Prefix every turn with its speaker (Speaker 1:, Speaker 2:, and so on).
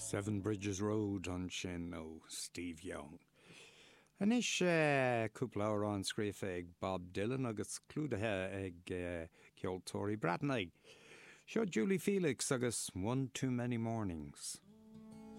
Speaker 1: Seven Bridges Road ansin ó Steve Young. Anois cúpla amhrán scríofa ag Bob Dylan agus clúdaithe ag ceoltóirí Breatnaise. Seo Julie Felix agus One Too Many Mornings.